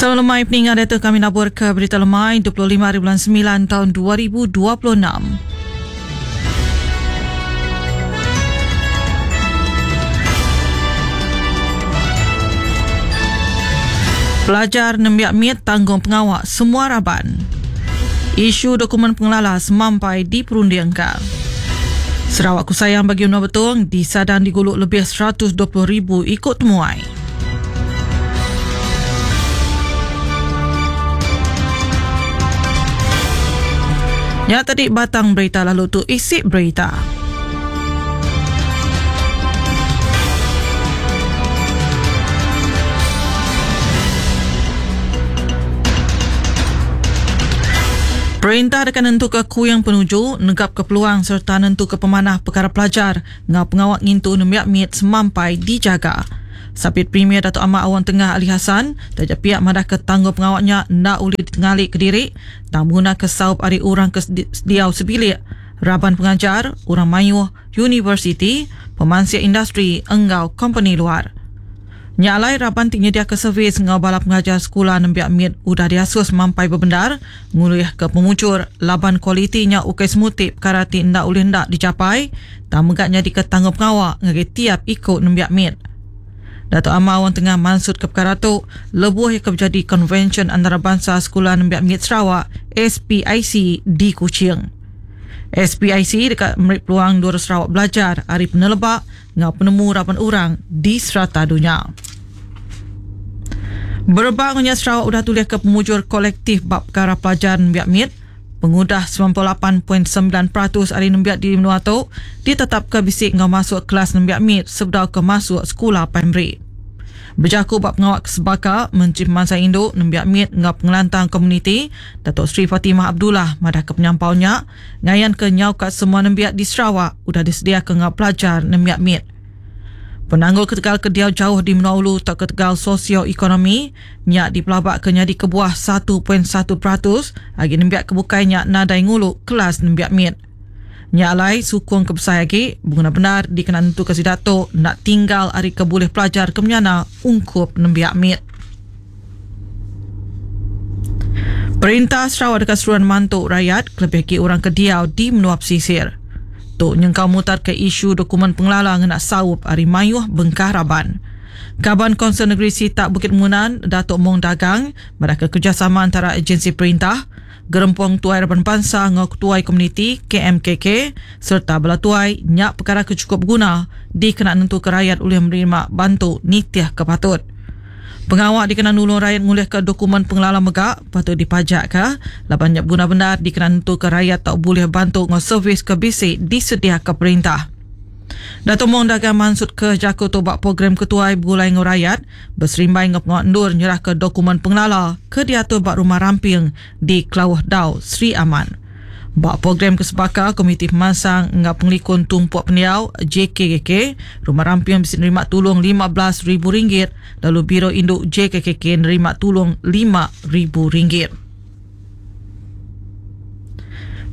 Selamat lemai peninga diatu kami nabur ke berita lemai 25 hari bulan 9 tahun 2026. Pelajar nembiak mit tanggung pengawa semua raban. Isu dokumen pengelala semampai diperundingka. Sarawak ku sayang bagi menua Betong disadang digulu lebih 120,000 iku temuai. Nya tadi batang berita lalu tu isi berita. Perintah deka nentuka kuing penuju, negapka peluang sereta nentuka pemanah pekara pelajar enggau pengawa ngintu nembiak mit semampai dijaga. Sapit Premier Datuk Amar Awang Tengah Ali Hasan taja pia madahka tanggungpengawa nya enda ulih ditengali kediri tang begunaka saup ari orang ke diau sebilik, raban pengajar, orang mayuh, universiti, pemansik industri enggau kompeni luar. Nya alai raban ti nyediaka servis enggau bala pengajar sekula nembiak mit udah diasus mampai bebendar ngulihka pemujur laban kualiti nya ukai semuti pekara ti enda ulih enda dijapai tang mega nyadika tanggungpengawa ngagai tiap iku nembiak mit. Datuk Amar Awang Tengah mansutka pekara tu lebuh iya ke bejadi Konvensyen Antarabansa Sekula Nembiak Mit Sarawak, SPIC, di Kuching. SPIC deka meri peluang endur Sarawak belajar ari peneleba enggau penemu raban orang di serata dunya. Berebak enggau nya Sarawak udah tulihka pemujur kolektif ba pekara pelajar nembiak mit pengudah 98.9% ari nembiak di menua tu ditetapka bisi enggau masuk kelas nembiak mit sebedau ke masuk sekula primary. Bejaku ba pengawa ke sebaka, Menteri Pemansang Indu, Nembiak Mit enggau Pengelantang Komuniti, Datuk Seri Fatimah Abdullah madahka penyampau nya ngayanka nyau ka semua nembiak di Sarawak udah disediaka enggau pelajar nembiak mit. Penanggul ketegal ke diau jauh di menua ulu tauka ketegal sosio-ekonomi nya dipelabaka nyadi kebuah 1.1% agi nembiak ke bukai nya nadai ngulu kelas nembiak mit. Nya alai, sukung ke besai agi beguna bendar dikena nentuka sida tu enda tinggal ari ke bulih pelajar ke menyana ungkup nembiak mit. Perintah Sarawak deka seruran mantu rayat kelebih agi orang ke diau di menua pesisir. Tu nyengkaum mutarka isu dokumen pengelala ngena saup ari mayuh bengkah raban. Kaban Kaunsil Negeri Sitak Bukit Munan, Datuk Mong Dagang madahka kerejasama entara ejensi perintah, Gerempung Tuai Raban Bansa enggau Ketuai Komuniti, KMKK, sereta bala tuai nya pekara ke chukup beguna dikena nentuka rayat ulih menerima bantu nitihka patut. Pengawa dikena nulung rayat ngulihka dokumen pengelala mega patut dipajakka laban nya beguna bendar dikena nentuka rayat tau bulih bantu enggau servis ke bisi disediaka perintah. Datuk Mong Dagang mansutka jaku tu ba program Ketuai Begulai Enggau Rayat beserimbai enggau pengawa endur nyerahka dokumen pengelala ke diatur ba Rumah Ramping di Klauh Dau, Sri Aman. Ba program ke sebaka, Komiti Pemansang enggau Pengelikun Tumpuk Pendiau, JKKK, Rumah Ramping bisi nerima tulung RM15,000 lalu Biro Indu JKKK nerima tulung RM5,000.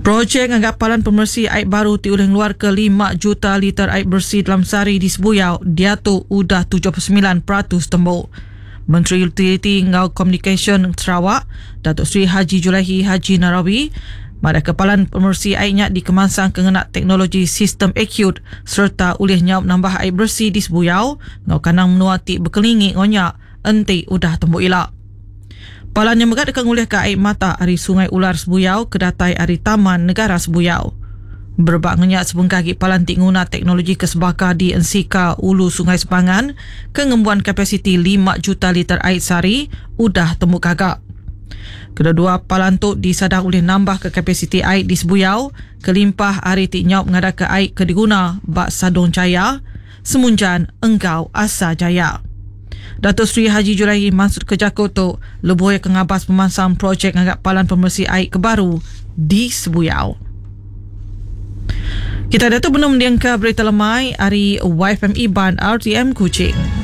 Projek ngaga palan pemeresi ai baru ti ulih ngeluarka lima juta liter ai beresi dalam sehari di Sebuyau diatu udah 79% tembu. Menteri Utiliti enggau Komunikasyen Sarawak, Datuk Seri Haji Julaihi Haji Narawi madahka palan pemeresi ai nya dikemansangka ngena teknologi sistem acute sereta ulih nyaup nambah ai beresi di Sebuyau enggau kandang menua ti bekelingi enggau nya enti udah tembu ila. Palan nya mega deka ngulihka ai mata ari Sungai Ular Sebuyau ke datai ari Taman Negara Sebuyau. Berebak enggau nya sebengkah agi palan ti nguna teknologi ke sebaka di Ensika Ulu Sungai Sepangan ke ngembuan kapasiti lima juta liter ai sehari udah tembu gaga. Kedua-dua palan tu disadang ulih nambahka kapasiti ai di Sebuyau kelimpah ari ti nyaup ngadaka ai ke diguna ba Sadong Jaya, Semunjan enggau Asa Jaya. Dato Sri Haji Julaihi mansutka jaku tu lebuh iya ke ngabas pemansang projek ngaga palan pemeresi ai ke baru di Sebuyau. Kita diatu benung mendingka berita lemai ari YFM Iban RTM Kuching.